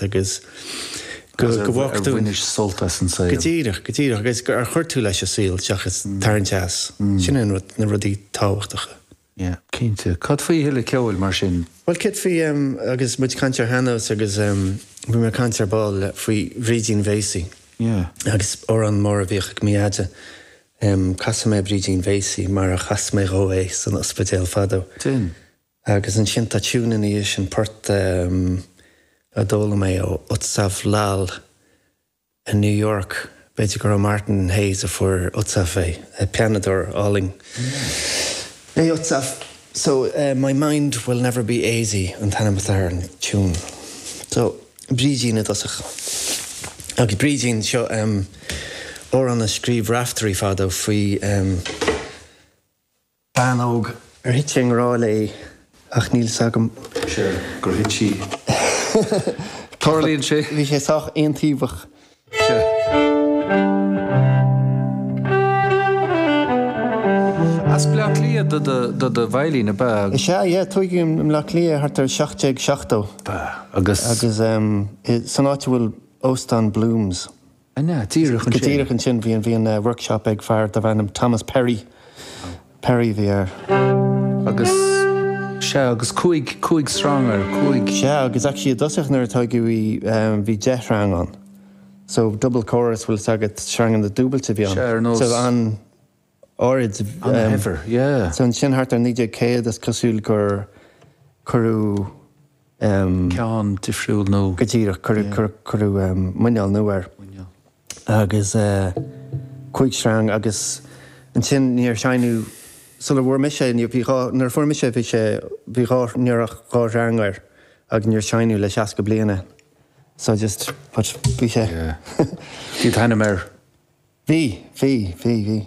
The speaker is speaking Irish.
leat agus go go bhfágfaidh tú. Ar bhainis sult as an saol. Go díreach, go díreach agus ar chuir tú leis an saol seachas tarraingt as. Sin an rud, na rudaí tábhachtacha. Yeah, cinnte. Cad faoi a thuilleadh ceoil mar sin? Bhuel, céard faoi, agus muid ag caint ar shean-nós agus bhí mé ag caint ar ball faoi Bhrídín Mhéasaí. Yeah. Agus amhrán mór a bhíodh ag mo dheaide. Casfaidh mé Brídín Mhéasaí mar a chas mé dhó é san ospidéal fadó. Sin. Agus ansin tá tiún ina dhiaidh sin, port a d'fhoghlaim mé ó Utsav Lal. I New York, b'fhéidir gur ó Martin Hayes a fuair Utsav é, pianadóir álainn é Utsav. So, My Mind Will Never Be Aisy an t-ainm atá ar an tiún. So, Brídín i dtosach. Agus Brídín, seo amhrán a scríobh Raiftearaí fadó faoi. Bean óg ar thit sé i ngrá léi ach níl 's agam. Sea, gur thit sí. Tarlaíonn sé. Bhí sé sách aontaobhach. Sea. As Bleá Cliath do do do veidhlín, ab ea? Is ea, yeah. Tóigeadh i mBleá Cliath thart ar 1770. Ab ea, agus. Agus san áit a bhfuil Óstán Bloom's. An ea? Díreach ansin. Go díreach ansin. Bhí an, bhí an workshop ag fear darbh ainm Thomas Perry. Perry a bhí air. Agus, sea, agus cúig, cúig sreang air, cúig. Sea, agus actually i dtosach nuair a tóigeadh í bhí 10 shreang ann. So double chorus, bhfuil 's agat, sreanganna dúbailte a bhí ann. Sea, ar nós. So an áirid. An-shaibhir, yeah. So ansin thart ar 1900 is cosúil gur cuireadh. ceann difriúil nó. Go díreach, cuireadh muineál nua air. Muineál. Agus cúig shreang agus ansin níor seinneadh, sula bhfuair mise é, bhí dhá, nuair a fuair mise é bhí sé, bhí dhá, ní raibh ach dhá shreang air agus níor seinneadh le 60 bliain é. So just, but bhí sé. Yeah. Bhí t-ainm air. Bhí, bhí, bhí, bhí.